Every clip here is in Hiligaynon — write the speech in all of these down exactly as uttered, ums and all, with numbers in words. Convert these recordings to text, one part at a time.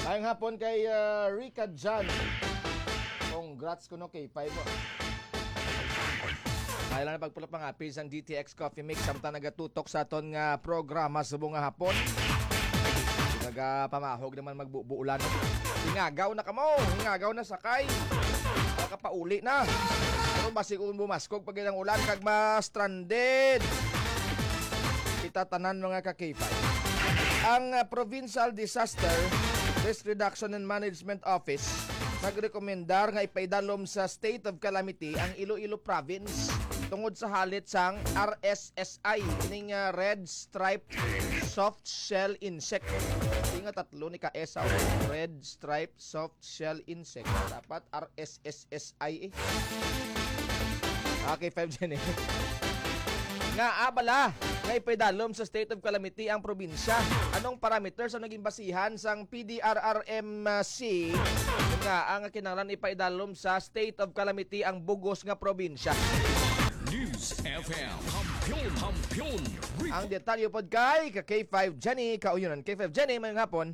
Maayong hapon kay, ah, Rica Jan. Congrats kuno, K five, oh. Kaya lang na pagpulot mga page ang D T X Coffee Mix samtang nagatutok sa aton nga programa subong nga hapon. Nagapamahog naman magbubuulan. Ingagaw na kamo, ingagaw na sakay. Makapauli na. Pero basi kung bumaskog pag ilang ulan, kag ma-stranded kita tanan, mga ka-K five. Ang, ah, Provincial Disaster Risk Reduction and Management Office nagrekomendar nga ipaidalom sa state of calamity ang Iloilo Province tungod sa halit sang R S S I, ning, ah, Red Stripe Soft Shell Insect. Di nga tatlo ni ka S, ah, Red Stripe Soft Shell Insect. Dapat R S S S I, eh. Okay, five Jen, eh. Nga, ah, bala, nga ipaidalom sa state of calamity ang probinsya. Anong parameters ang naging basihan sang P D R R M C nga ang kinahanglan ipaidalom sa state of calamity ang bug-os nga probinsya? News F M, Kampiyon, Kampiyon, Ang detalye pod kay ka K five Jenny Kauyonan. K five Jenny, mayong hapon.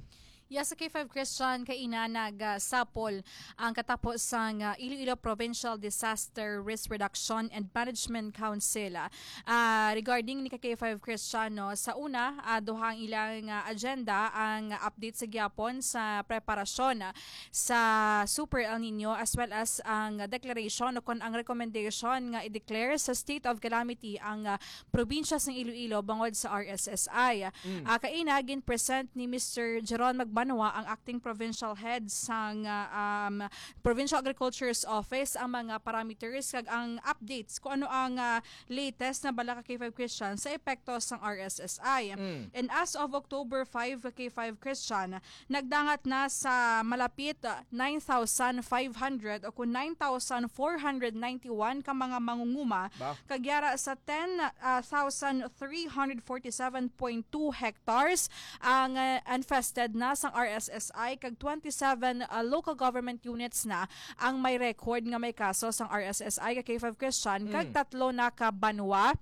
Yes, sa K five Christian, kaina nagsapol ang katapo sang, ah, Iloilo Provincial Disaster Risk Reduction and Management Council. Ah, regarding ni ka K five Christian, no, sa una, ah, duha ang ilang, ah, agenda, ang update sa gyapon sa preparasyon, ah, sa Super El Nino, as well as ang declaration o kon ang recommendation nga i-declare sa state of calamity ang, ah, probinsya sang Iloilo bangod sa R S S I. Mm. Ah, kaina, gin-present ni Mister Jeron Magbanwa, ang acting provincial head sang, ah, um, Provincial Agriculture's Office, ang mga parameters kag ang updates kung ano ang, ah, latest na bala ka K five Christian sa epekto sang R S S I. Mm. And as of October five, ka K five Christian, nagdangat na sa malapit, ah, nine thousand five hundred o kung nine thousand four hundred ninety-one ka mga mangunguma, ba? Kag yara sa ten, ah, thousand three hundred forty-seven point two hectares ang, ah, infested na sang R S S I, kag twenty-seven, ah, local government units na ang may record nga may kaso sang R S S I ka K five Christian, kag Mm. tatlo na ka banwa,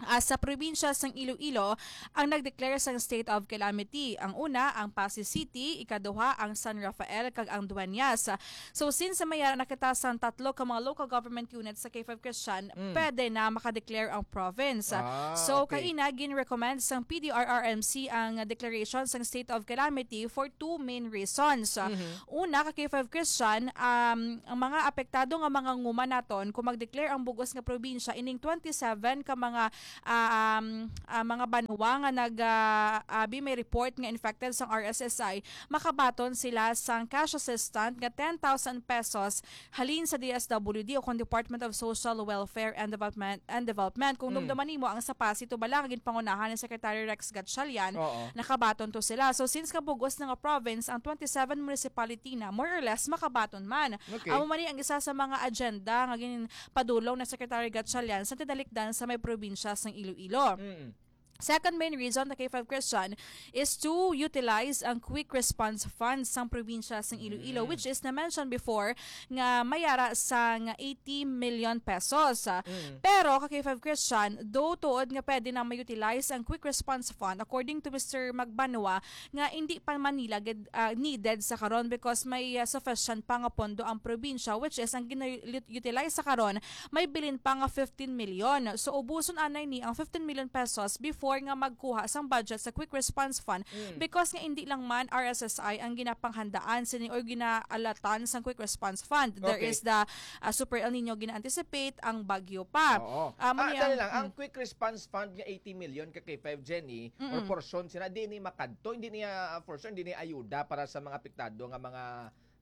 ah, sa probinsya sang Iloilo ang nag-declare sang state of calamity. Ang una, ang Passi City, ikaduha, ang San Rafael, kag ang Dueñas. So, since may ara na kita sang tatlo ka mga local government units sa K five Christian, Mm. pwede na maka-declare ang province. Ah, So, okay. kaina, gin-recommend sang P D R R M C ang declaration sang state of calamity for two main reasons. Mhm. Una, ka K five Christian, um, ang mga apektado nga mga nguma naton, kung mag-declare ang bug-os nga probinsya, ining twenty-seven ka mga, ah, um, ah, mga banwa nga nag, ah, abi may report nga infected sang R S S I, makabaton sila sang cash assistance nga ten thousand pesos halin sa D S W D o kon Department of Social Welfare and Development, and Development. Kung Mm. dumduman nimo, ang sa Passi, tubala nga ginpangunahan ni Secretary Rex Gatchalian, Oo. nakabaton to sila. So, since kabug-os na nga province ang twenty-seven municipality na, more or less, makabaton man. Okay. Amo man ni ang isa sa mga agenda nga ginpadulong na Secretary Gatchalian sa tinalikdan sa may probinsya sang Iloilo. Mm. Second main reason, the K five Christian, is to utilize ang Quick Response Fund sang probinsya sang Iloilo, Mm. which is na-mention before nga may ara sang eighty million pesos. Mm. Pero ka K five Christian, though tuod nga pwede na ma-utilize ang Quick Response Fund, according to Mister Magbanwa, nga hindi pa man nila gid, ah, needed sa karon because may, ah, sufficient pa nga pondo ang probinsya, which is ang gina-utilize sa karon may bilin pa nga fifteen million. So, ubuson anay ni ang fifteen million pesos before nga magkuha sang budget sa Quick Response Fund Mm. because nga hindi lang man R S S I ang ginapanghandaan sini or ginaalatan sang Quick Response Fund. There Okay. is the, ah, Super El Nino gina-anticipate, ang bagyo pa. Oo. Amo Ah, ni dali ang lang, ang mm. Quick Response Fund nga eighty million ka K five Jenny, or Mm-mm. portion sina, di ni makadto, hindi niya, ah, portion, hindi niya ayuda para sa mga apektado nga mga,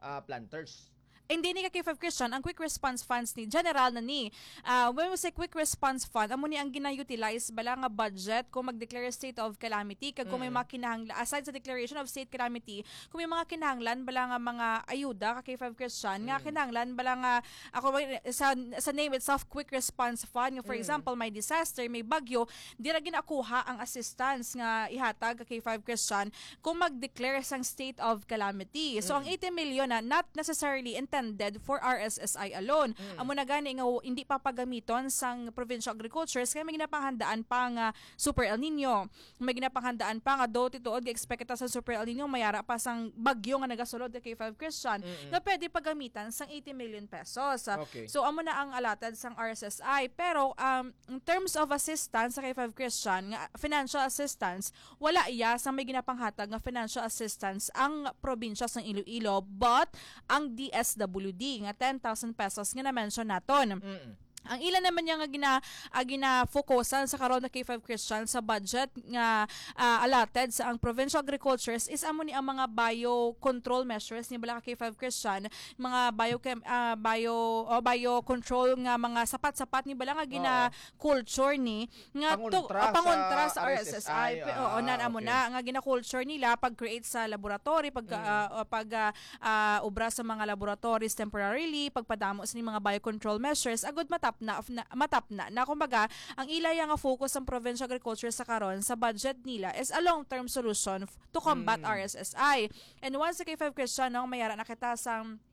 ah, planters. Hindi ni ka K five Christian, ang Quick Response Funds ni, general na ni. Ah, when we say Quick Response Fund, amo ni ang gina-utilize bala nga budget kung mag-declare state of calamity, kag kung may Mm. mga kinahanglan, aside sa declaration of state calamity, kung may mga kinahanglan bala nga mga ayuda ka K five Christian, nga Mm. kinahanglan bala nga, ako, sa, sa name itself, Quick Response Fund, nga for Mm. example, may disaster, may bagyo, dira ginakuha ang assistance nga ihatag ka K five Christian kung mag-declare sang state of calamity. So, ang Mm. eighty million na not necessarily intended for R S S I alone. Mm. Amo na gani nga w-, hindi papagamiton sang provincial agricultures kay may ginapanghandaan pa nga Super El Nino. May ginapanghandaan pa nga, do tinuod nga expect kita sa Super El Nino, mayara pa sang bagyo nga nagasulod ka K five Christian, Mm-mm. nga pwede paggamitan sang eighty million pesos. Okay. So, amo na ang allotted sang R S S I. Pero, um, in terms of assistance sa K five Christian, nga financial assistance, wala iya sa may ginapanghatag nga financial assistance ang probinsya sang Iloilo, but ang D S W D nga ten thousand pesos nga na-mention naton. Mm. Ang ila naman niya nga gina-, ah, gina-focusan sa karon na K five Christian sa budget nga, ah, allotted sa ang provincial agricultures is amo ni ang mga bio control measures ni bala ka K five Christian, mga bio chem-, ah, bio, o bio control nga mga sapat-sapat ni bala nga Oo. gina-culture ni nga to-, Pangontra ah, pangontra sa sa R S S I. R S S I, Pe-, oo, ah, nan amo okay. na nga gina-culture nila pag-create sa laboratory, pag, Mm. ah, o pag, ah, ah, obra sa mga laboratories temporarily, pagpadamo sa mga biocontrol measures, agud matapna, na, matapna na. Kumbaga, ang ilaya nga focus sang provincial agriculture sa karon sa budget nila is a long-term solution f-, to combat Mm. R S S I. And once sa K five Christian, no, mayara na kita sang,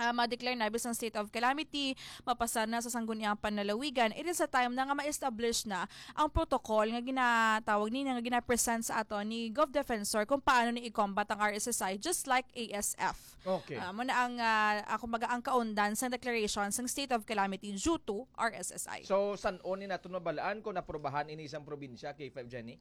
ah, ma-declare na bisan state of calamity, mapasar na sa sangguniang panlalawigan, it is a time na nga ma-establish na ang protocol nga ginatawag ni, nga gina-present sa ato ni Gov Defensor kung paano ni i-combat ang R S S I, just like A S F. Okay. Ah, mo na ang, ah, ah, kumbaga, ang kaundan sa declaration sang state of calamity due to R S S I. So, san-o ni naton mabalaan kung naprobahan ini sang probinsya, K five Jenny?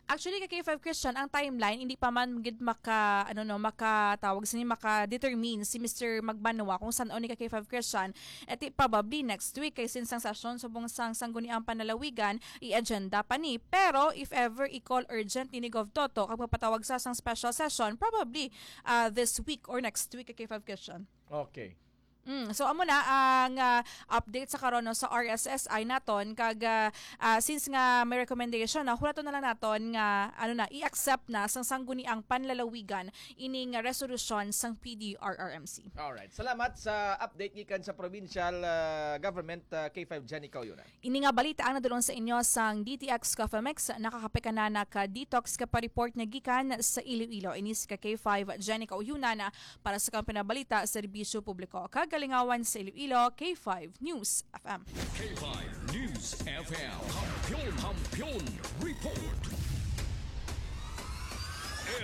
Actually, ka K five Christian, ang timeline, hindi pa man gid maka, ano, no, makatawag sini, maka-determine si Mister Magbanwa kung san-o ni ka K five Christian. Eti, probably next week, kay since ang session subong sang Sangguniang Panlalawigan, i-agenda pa ni. Pero if ever i-call urgent ni, ni Gov Toto, kag magpatawag sa sang special session, probably, ah, this week or next week, ka K five Christian. Okay. Mm, so, amo na ang, ah, update sa karon, no, sa R S S I naton. Kag, ah, ah, since nga may recommendation na, hulaton na lang naton nga, ano na, i-accept na sang Sangguniang Panlalawigan ining resolusyon sang P D R R M C. Alright. Salamat sa update gikan sa provincial, ah, government, ah, K five Jenny Kauyunan. Ini nga balita ang nadulong sa inyo sang D T X Coffee Mix. Nakakape ka na, naka-detox ka pa, report na gikan sa Iloilo. Ini si ka K five Jenny Kauyunan para sa Kampiyon nga Balita, Serbisyo Publiko, kag Kalingawan sa Iloilo, K five News F M. K five News F M. Kampiyon, Kampiyon Report.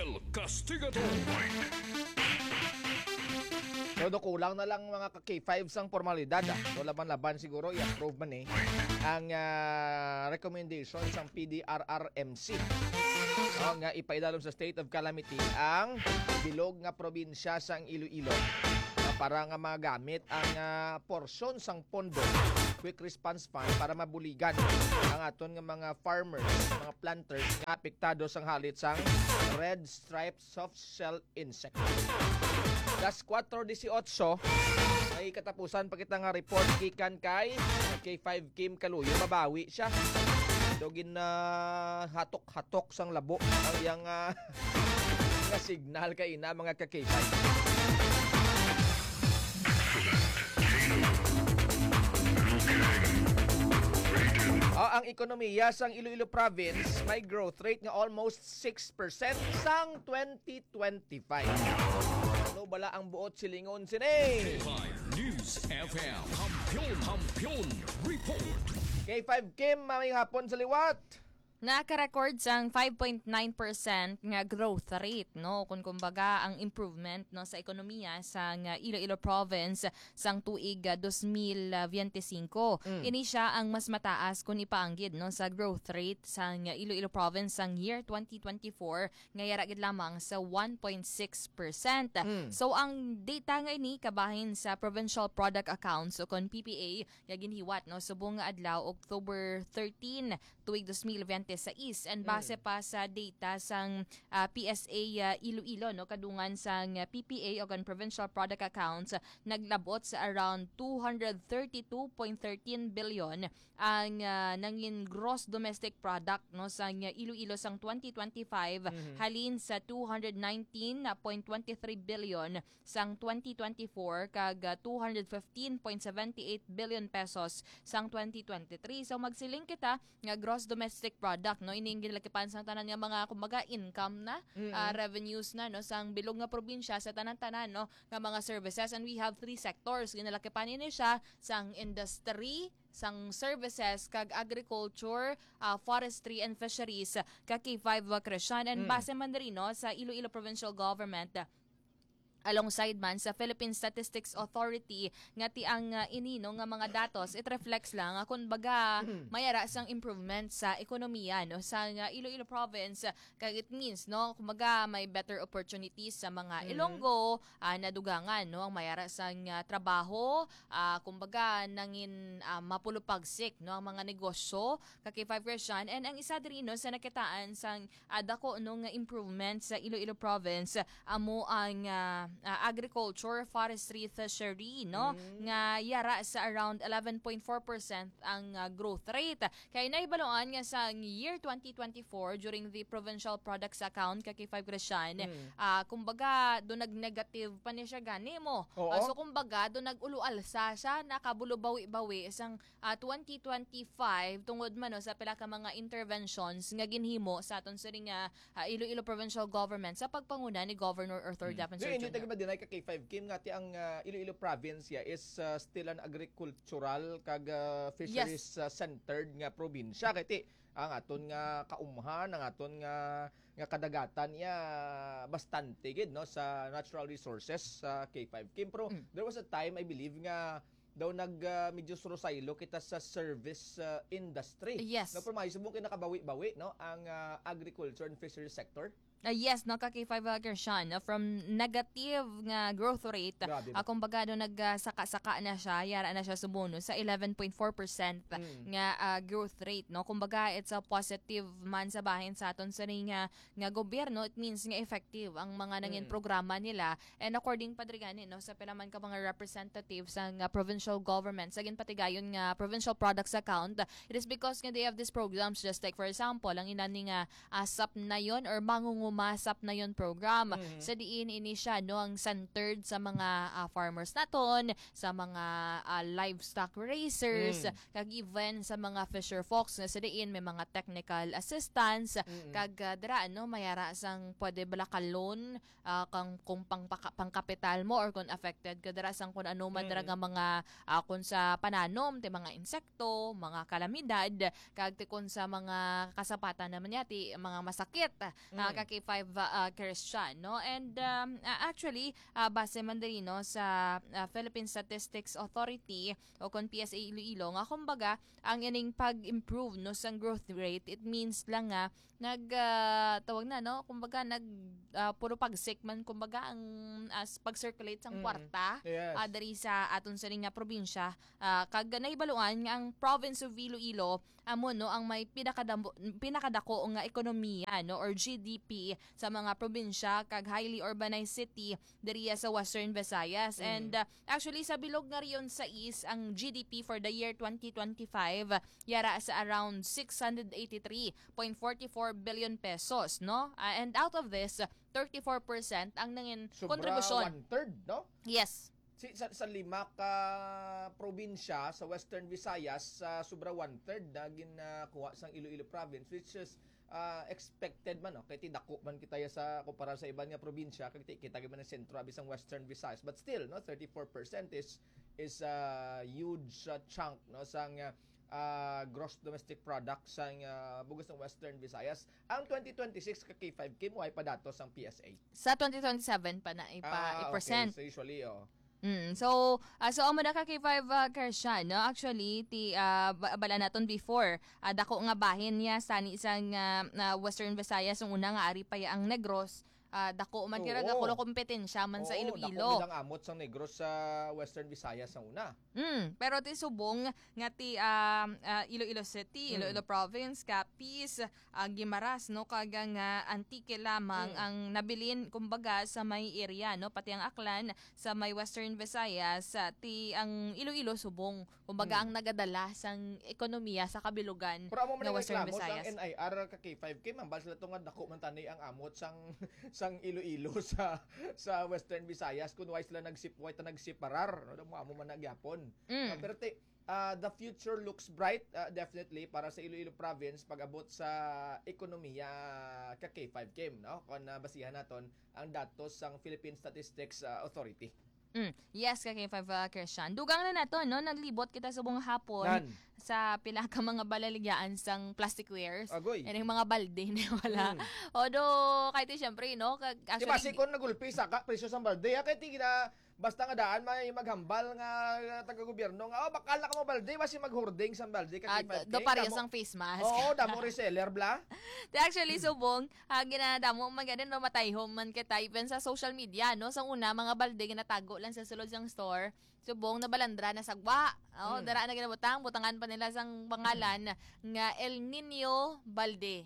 El Castigador. So, do kulang na lang mga ka K five sang formalidad, ah. So, laban-laban siguro, i-approve man eh ang, ah, recommendation sang P D R R M C. Oh, nga ipaidalom sa state of calamity ang bilog nga probinsya sang Iloilo, ah, para nga magamit ang, ah, porsyon sang pondo, Quick Response Fund, para mabuligan ang aton nga mga farmers, mga planters nga apektado sang halit sang red stripe soft shell insect. Alas kuwatro dieciocho, may katapusan pa kita nga report gikan kay K five Kim Kaluyo. Mabawi siya. Do gin, ah, hatok-hatok sang labo ang iyang, ah, nga signal kay ina, mga ka-K five. Oh, ang ekonomiya sang Iloilo Province may growth rate nga almost six percent sang twenty twenty-five. Ano bala ang buot silingon sini? K five News F M. Kampiyon, Kampiyon Report. K five Kim, maayong hapon sa liwat. Naka-record sang five point nine percent nga growth rate, no? Kung kumbaga, ang improvement, no, sa ekonomiya sang Iloilo Province sang tuig, ah, dos mil veinticinco. Mm. Ini sia ang mas mataas kung ipaanggid, no, sa growth rate sang Iloilo Province sang year twenty twenty-four, nga yara gid lamang sa one point six percent. Mm. So, ang data nga ini kabahin sa Provincial Product Accounts o kon P P A nga ginhiwat, no, subong nga adlaw, October thirteen, tuig dos mil biyente sais. And base Mm. pa sa data sang, ah, P S A, ah, Iloilo, no, kadungan sang, ah, P P A o kon Provincial Product Accounts, naglabot sa around two hundred thirty-two point thirteen billion ang, ah, nangin gross domestic product, no, sang Iloilo sang twenty twenty-five, Mhm. halin sa two hundred nineteen point twenty-three billion sang twenty twenty-four kag, ah, two hundred fifteen point seventy-eight billion pesos sang twenty twenty-three. So, magsiling kita nga gross domestic product Dak, no, ining ginalakipan sang tanan nga mga, kumbaga, income na, Mm. ah, revenues na, no, sang bilog nga probinsya sa tanan-tanan, no, nga mga services. And we have three sectors. Ginalakipan ini siya sang industry, sang services, kag agriculture, ah, forestry, and fisheries, ka K five, uh, Christian. And Mm. base man diri, no, sa Iloilo Provincial Government, alongside man sa Philippine Statistics Authority, nga ti ang, ah, ini, no, nga mga datos, it reflects lang nga, kun baga, mayara sang improvement sa ekonomiya, no, sa, ah, Iloilo Province, kag it means, no, kumbaga, may better opportunities sa mga Mm. Ilonggo, ah, nadugangan, no, ang mayara sang, ah, trabaho, ah, kumbaga, nangin, ah, mapulupagsik, no, ang mga negosyo, ka K five Christian. And ang isa diri, no, sa nakitaan sang ah, dako, no, nga improvement sa Iloilo Province, amo ang, ah, ah, agriculture, forestry, fishery, no, Mm. nga yara sa around eleven point four percent ang, ah, growth rate. Kay nahibaluan nga sa year twenty twenty-four, during the provincial products account ka K five Christian, Mm. ah, kumbaga, do nag-negative pa ni siya gani mo. Oo. Ah, so, kumbaga, do nag-ulo-alsa siya, nakabulubawi-bawi sang ah, twenty twenty-five tungod man, no, sa pila ka mga interventions nga ginhimo sa aton sini nga, ah, Iloilo Provincial Government sa pagpanguna ni Governor Arthur Mm. Daffin Di, hindi Sir tayo Junior. Madinay ka K five Kim nga ti ang, ah, Iloilo Province ya is, ah, still an agricultural kag, ah, fisheries, Yes. ah, centered nga probinsya. Kay ti, ang aton nga kaumhan, ang aton nga, nga kadagatan ya bastante gid, no, sa natural resources sa K five Kim. Pero Mm. there was a time, I believe, nga daw nag, ah, medyo surusaylo kita sa service, ah, industry. Yes. No, pero maayo subong kay nakabawi-bawi, no, ang, ah, agriculture and fisheries sector. Ah, yes, no, ka K five, ah, Christian, no, from negative nga growth rate, Grabe, ah, no? Kumbaga, no, nag, ah, saka-saka na siya, yara na siya sumuno sa eleven point four percent Mm. nga, ah, growth rate, no? Kumbaga, it's a positive man sa bahin sa aton sa nga, nga gobyerno. It means nga effective ang mga nangin Mm. programa nila. And according pa diri gani, no, sa pila man ka mga representatives sang, uh, provincial government sa ginpatigayon nga provincial products account, it is because nga they have these programs, just like, for example, ang inani nga, uh, Sapnayon or Mangunguma Sapnayon program. Mhm. Sa diin ini siya, no, ang centered sa mga, uh, farmers naton, sa mga, uh, livestock raisers, Mm. kag even sa mga fisher folks nga sa diin may mga technical assistance, Mm. kag, uh, dira, no, mayara sang pwede bala ka loan ah, kang, kung pang, paka-, pangkapital mo or kung affected ka dira sang kung ano man dira Mm. nga mga, ah, kung sa pananom, ti mga insekto, mga kalamidad, kag ti kung sa mga kasapatan naman niya, ti mga masakit, ah, Mm. ka K five, ah, Christian, no? And, um, ah, actually, ah, base man diri, no, sa, ah, Philippine Statistics Authority o kung P S A Iloilo, nga kumbaga, ang ining pag-improve, no, sang growth rate, it means lang nga nag, ah, tawag na, no? Kumbaga, nag, ah, puro pagsik man, kumbaga, ang, as pag-circulate sang Mm. kwarta, Yes. ah, diri sa aton sini nga probinsya. Ah, kag nahibaluan nga ang province of Iloilo amo, no, ang may pinakadambo-, pinakadako nga ekonomiya, no, or G D P sa mga probinsya kag highly urbanized city diriya sa Western Visayas. Mm. And, ah, actually, sa bilog nga Region sais, ang G D P for the year twenty twenty-five yara sa around six hundred eighty-three point forty-four billion pesos, no? Ah, and out of this, thirty-four percent ang nangin Sobra kontribusyon. One-third, no? Yes. Si, sa, sa lima ka probinsya sa Western Visayas, sa sobra one-third na ginakuha sang Iloilo Province, which is, ah, expected man, no? Kay ti dako man kita ya sa kumpara sa iban nga probinsya, kay ti-, kita gyud man ang sentro abi sang Western Visayas. But still, no, thirty-four percent is, is a huge, ah, chunk, no, sang, ah, ah, gross domestic product sang, ah, bug-os sang Western Visayas. Ang twenty twenty-six ka K five Kim, way pa datos ang P S A. Sa twenty twenty-seven pa na ipa-, Ah, okay. i-present. So, usually, oh. Mm. So, ah, so, amo na ka K five, ah, Christian, no? Actually, ti, ah, ba-, bala naton before, ah, dako nga bahin niya sa ni isang, ah, ah, Western Visayas, ang una nga ari pa ya ang Negros, ah, dako man kira Oo. Dakulo kompetensya man sa Oo, Iloilo. Dako gid ang amot sang Negros sa Western Visayas ang una. Mm, pero ti subong nga ti, ah, ah, Iloilo City, Mm. Iloilo Province, Capiz, ah, Guimaras, no, kag ang, ah, Antique lamang Mm. ang nabilin, kumbaga, sa may area, no, pati ang Aklan sa may Western Visayas, ah, ti ang Iloilo subong, kumbaga, Mm. ang nagadala sang ekonomiya sa kabilugan Pero amo man nga ang Western reklamo sang Visayas. N I R ka K five Kim, hambal sila to nga dako man tani ang amot sang, sang Iloilo sa, sa Western Visayas, kun way sila nagsip-, way ta nagsiparar, no? Amo, amo man na gyapon. Mm. Ah, pero ti, ah, the future looks bright, ah, definitely, para sa Iloilo Province pag-abot sa ekonomiya ka K five Kim, no? Kung, ah, basihan naton ang datos sang Philippine Statistics, ah, Authority. Mm. Yes, ka K five, ah, Christian. Dugang na nato, no? Naglibot kita subong hapon Nan. sa pila ka mga balaligyan sang plasticwares. Agoy. Ining mga balde na wala. Mm. Although, kahit syempre, no? Kag-, Di ba, actually, si kon nagulpi sa ka, presyo sang balde, ah, kay tigil na, basta nga daan may maghambal nga, ah, taga-gobyerno nga, "Oh, bakal na ka mo balde, basi maghurding sang balde ka Ah, K five K." do pareho Damo. sang face mask. Oo, damo reseller, bla. Di, actually, subong, ah, ginadamo man gani, no, matayhom man kita, even sa social media, no? Sa una, mga balde ginatago lang sa sulod sang store. Subong, nabalandra na sa gwa. Oh, Mm. dara na ginabutang, butangan pa nila sang pangalan nga El Niño Balde.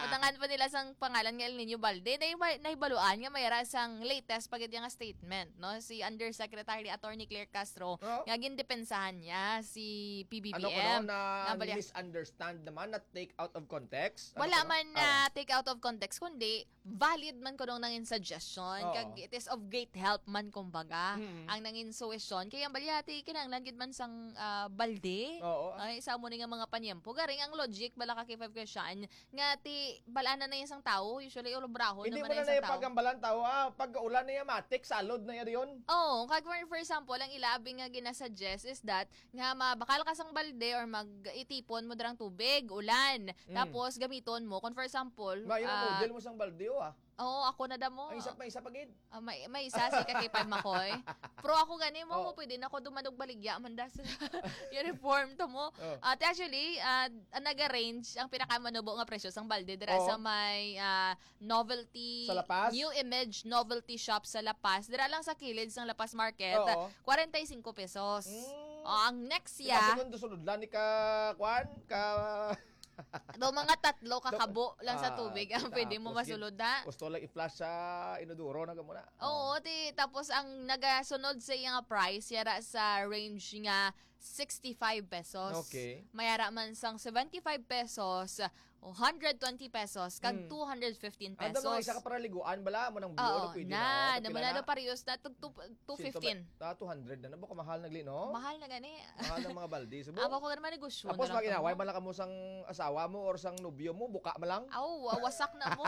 Butangan pa nila sang pangalan nga El Niño Balde. Nahiba-, nahibaluan nga may ra sang latest pa gid nga statement, no? Si Undersecretary Attorney Claire Castro, Oh. nga gindepensahan niya si P B B M. Ano kuno, na Nga bali- misunderstand naman, na take out of context? Ano Wala kuno? man na Ah. take out of context, kundi valid man kuno nangin suggestion. Oo. Kag it is of great help man, kumbaga, Mm. ang nangin suwesyon. Kaya ang balyati, kinahanglan gid man sang, ah, balde. Oo. Ay, sa amo ni nga mga panyempo. Garing ang logic, bala ka K five Christian, nga ti, balanan na yan sang tao. Usually, ulubrahon Hindi naman mo na na yan na sang tao. ipagambalan tao. Ah, pag ulan na yan, matik, salod na yan yun. Oo, kag for, for example, ang ilabi nga ginasuggest is that nga mabakal ka sang balde or mag-itipon mo dirang tubig, ulan. Mm. Tapos gamiton mo. Kung for example, Ma, yun ang ah, model mo sang balde, oh, ah. Oo, ako na damo. Ang isa pa, isa pa gid. Ah, may, may isa si Kakipay Makoy. Pero ako gani mo, Oh. mo pwede na ako dumanog baligya man da sa uniform to mo. Oh. At actually, ah, ang nag-arrange, ang pinakamanubo nga presyo sang balde dira Oo. sa may, ah, novelty, Sa La Paz? New Image Novelty Shop sa La Paz. Dira lang sa kilid sang La Paz Market, Oo. kwarenta y cinco pesos. Mm. Oh, ang next Di ba, ya, si Mundo Sulod lang ni ka, kwan? Ka Do mga tatlo ka Do- kabo lang sa Ah, tubig ang tapos pwede mo gid, masulod na. gusto lang i-flush sa inodoro na gamo na. Oo, Oh. ti, tapos ang nagasunod sa iya nga price, yara sa range nga sixty-five pesos. Okay. Mayara man sang seventy-five pesos, o hundred twenty pesos, kag Mm. two hundred fifteen Ano daw mga pesos. isa ka paraliguan bala mo nang buo, Oo, no, pwede na, na, na, naman na. na daw parehas na, tug-, tu-, two fifteen. Sito ba? Ah, two hundred na. Nabo ka mahal na gli, no? Mahal na gani. Mahal ng mga balde. Subo. Ako ko naman negosyo Tapos na lang maginaway kamo. man lang kamo sang asawa mo or sang nobyo mo, buka man lang. Aw, wa-, wasak na mo.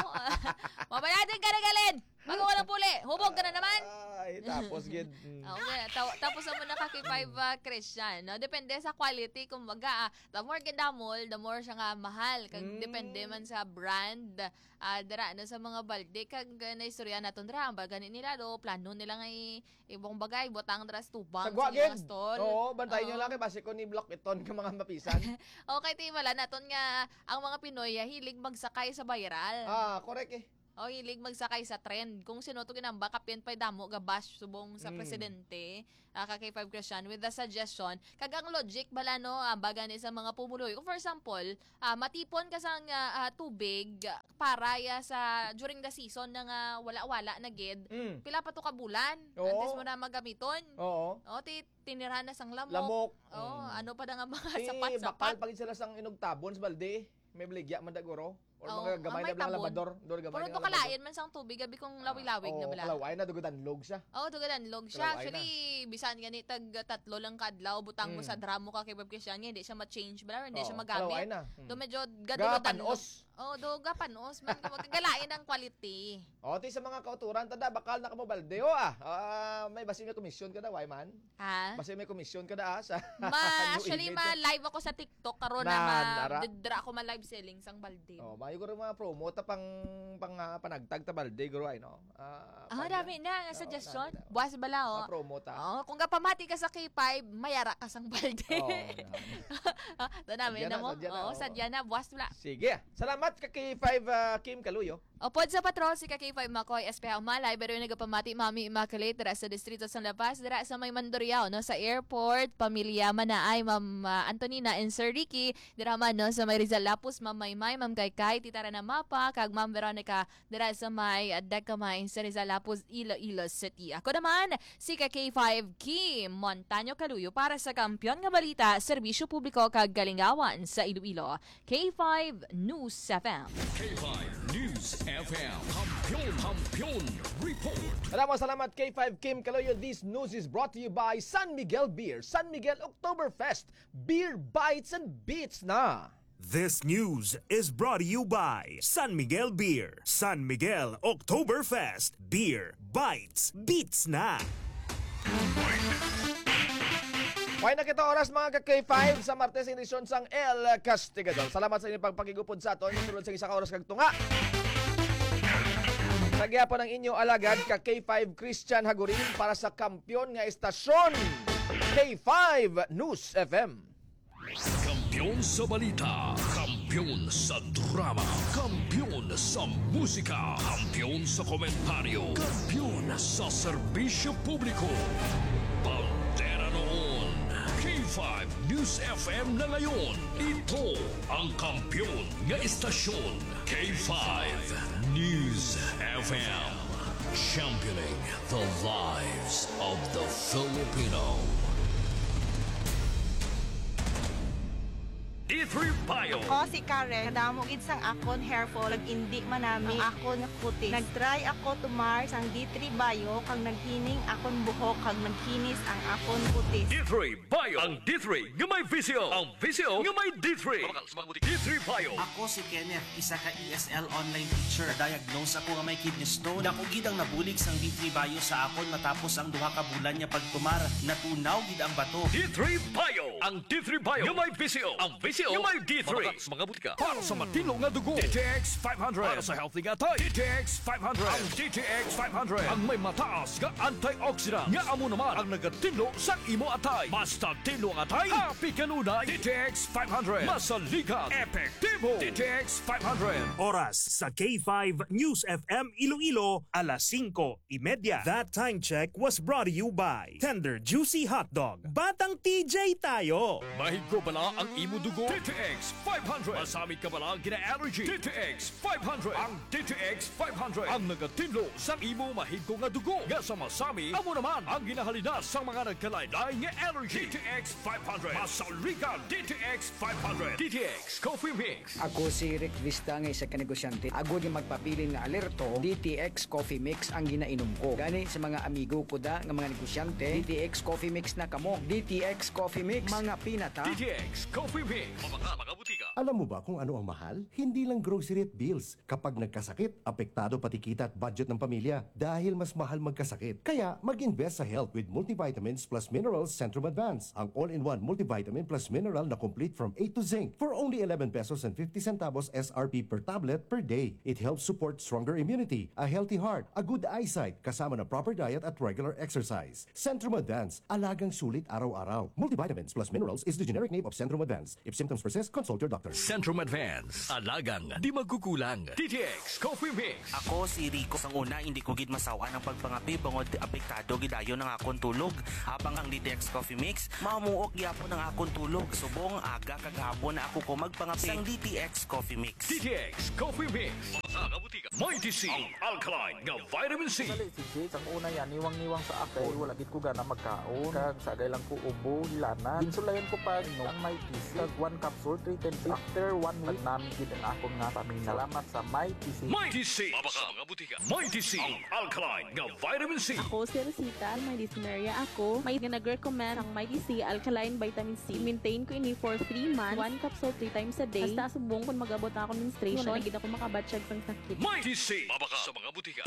Mabaya din ka na galin. Bago ka lang puli, hubog ka na naman. Ay, tapos gid. Mm. Ah, okay. Taw-, tapos amo na ka kay five, ah, Christian, no? Depende sa quality, kumbaga, ah, the more gid damol, the more siya nga mahal. Kag Mm. depende man sa brand, ah, dira, no, sa mga balde. Kag, ah, naistorya naton dira, ang baga ni nila, do, plano nila nga i-, ibang bagay, butang dira sa tubang, Sa sa gwa ilang gid. stall. Oo, bantayan nyo Oo. lang kay basi ko ni block iton ka mga mapisan. Okay, ti, wala naton nga ang mga Pinoy, ah, hilig magsakay sa viral. Ah, correct eh. O, hilig magsakay sa trend. Kung sino to ginamba, kapin pa'y damo ga bash subong sa Mm. presidente, ah, ka K five Christian, with the suggestion, kag ang logic bala, no, ah, baga ni sa mga pumuluyo. Kung for example, ah, matipon ka sang, ah, ah, tubig para ya sa during the season na nga wala-wala na gid, Mm. pila pa to ka bulan Oo. antes mo na magamiton. Oo. O, ti-, tinirahan na sang lamok. Lamok. Oo, Mm. ano pa na nga mga Eh, sapat-sapat. bakal pa gid sila sang inugtabon sa balde. May baligya man da guro. Or Oo, mga gamay ah, may na lang tabon. labador. Doon gamay Pero na to labador. kalain man sang tubig, abi kung Ah, lawig-lawig na oo, bala. kalaway na, dugo danlog siya. Oo, dugo danlog siya. Kalaway na. Actually, bisan gani tag tatlo lang ka adlaw, butang mo Mm. sa drum mo ka kay Bob Christian, nga hindi siya ma-change bala, hindi siya Oo, magamit. kalaway na. Mm. Do medyo gadulo danlog. Gapanos. Oh, do gapanos man. Kagalain ang quality. O, ti sa mga kauturan, tada, bakal na ka mo balde. O, ah. Ah, may basi may komisyon ka daw, ay man? Ha? Basi may komisyon ka da, ah, sa Ma, New actually, Image, ma, ah. live ako sa TikTok karon na Nan, ma, ara. didra ako ma live selling sang balde. Oh, mayo ko rin mga promo ta pang, pang, ah, panagtag ta balde, guro, ay, no? Ah, Ah, pang- dami na, Oo, suggestion. dami na. Buwas bala, oh. Ma-promo ta. Oh, kung kapamati ka sa K five, mayara ka sang balde. Oo, na. Ah, to na, may Sadya na na, mo? sadya na, Oo, oo. sadya na, buwas bala. Sige. Salamat ka K five, ah, Kim Kaluyo. Upod sa patrol, si ka K five Makoy Espeha Umalay, pero yung nagapamati, Mami Immaculate, dira sa Distrito sa La Paz, dira sa may Mandurriao, no, sa airport, pamilya Manaay, Ma'am, ah, Antonina and Sir Ricky, dira man, no, sa may Rizal Lapus, Ma'am Maymay, Ma'am Kaykay, Tita Rana Mapa, kag Ma'am Veronica, dira sa may, ah, Decamay, sa Rizal Lapus, Iloilo City. Ako naman, si ka K five Kim Montaño Caluyo para sa Kampiyon nga Balita, Serbisyo Publiko kag Kalingawan sa Iloilo, K five News F M. K five News F M. Kampiyon, Kampiyon Report. Maraming salamat, K five Kim Kaloyo. This news is brought to you by San Miguel Beer. San Miguel Oktoberfest. Beer bites and beats na. This news is brought to you by San Miguel Beer. San Miguel Oktoberfest. Beer bites, beats na. May na kita oras, mga ka K five, sa Martes, edisyon sang El Castigador. Salamat sa inyong pagpakigupod sa aton. Sulod sa isa ka oras kag tunga, sa gihapon ang inyo alagad ka K five Christian Hagurin para sa kampiyon nga estasyon, K five News F M. Kampiyon sa balita, kampiyon sa drama, kampiyon sa musika, kampiyon sa komentaryo, kampiyon sa serbisyo publiko. Bandera noon, K five News F M na ngayon. Ito ang kampiyon nga estasyon, K five News F M. Championing the lives of the Filipino. D three Bio. Ako si Karen. Kadamo gid sang akon hair fall, nag-indi man nami ang akon nga kutis. Nag-try ako tumar sang D three Bio, kag naghining akon buhok, kag nagkinis ang akon kutis. D three Bio. Ang D three nga may visyo. Ang visyo nga may D three. Mabakal sa mga butika. D three Bio. Ako si Kenneth, isa ka E S L online teacher. Na-diagnose ako nga may kidney stone. Dako gid ang nabulig sang D three Bio sa akon matapos ang duha ka bulan nga pagtumar. Natunaw gid ang bato. D three Bio. Ang D three Bio nga may visyo. Ang visyo nga may D three. Mabakal sa mga butika. Para sa matinlo nga dugo, D T X five hundred. Para sa healthy nga atay, D T X five hundred. Ang D T X five hundred ang may mataas nga antioxidant nga amo naman ang nagatinlo sa imo atay. Basta tinlo ang atay, happy kanunay. D T X five hundred. Masaligan, epektibo. D T X five hundred. Oras sa K five News F M Iloilo, alas singko y media. That time check was brought to you by Tender Juicy Hotdog. Batang T J tayo! Mahigko bala ang imo dugo? D T X five hundred. Masamit ka bala ang gina-allergy? D T X five hundred. Ang D T X five hundred ang nagatinlo sa imo mahigko nga dugo nga sa masami, amo naman ang ginahalinas sa mga nagkalain-lain nga allergy. D T X five hundred. Masaligan, D T X five hundred. D T X Coffee Mix. Ako si Rick Vista nga isa ka negosyante. Agod nga magpabilin nga alerto, D T X Coffee Mix ang ginainom ko. Gani sa mga amigo ko da nga mga negosyante, D T X Coffee Mix na kamo. D T X Coffee Mix, mga pinata. D T X Coffee Mix. Mabakal sa mga butika. Alam mo ba kung ano ang mahal? Hindi lang grocery at bills. Kapag nagkasakit, apektado pati kita at budget ng pamilya dahil mas mahal magkasakit. Kaya mag-invest sa health with multivitamins plus minerals Centrum Advance. Ang all-in-one multivitamin plus mineral na complete from A to zinc for only eleven pesos and fifty centavos S R P per tablet per day. It helps support stronger immunity, a healthy heart, a good eyesight, kasama na proper diet at regular exercise. Centrum Advance, alagang sulit araw-araw. Multivitamins plus minerals is the generic name of Centrum Advance. If symptoms persist, consult your doctor. Centrum Advance, alagang di magkukulang. D T X Coffee Mix. Ako si Rico. Sang una, hindi ko gid masaw-an ang pagpangape bangod apektado gid dayon ang akon tulog. Habang ang D T X Coffee Mix, mamuok gyapon ang akon tulog. Subong aga kag hapon na ako ko magpangape sang D T X Coffee Mix. D T X Coffee Mix. Sa mga butika. Mighty C, ang alkaline nga vitamin C. Dali, si Jake, sang una yan, niwang-niwang sa ako. Wala gid ko gana magkaon. Kag sagay lang ko ubo, hilanan. Ginsulayan ko pa ang Mighty C. Kag one capsule, three times. After one week, nagnami gid ang akon nga stamina. Salamat sa Mighty C. Mighty C. Mabakal sa mga butika. Mighty C, ang alkaline nga vitamin C. Ako si Rosita, may dysmenorrhea ako. May nga nag-recommend ang Mighty C alkaline vitamin C. I-maintain ko ini for three months. One capsule three times a day. Hasta subong kung mag-abot na ako menstruation, wala na gid ako makabatyag sang sakit. Mighty C. Mabakal sa mga butika.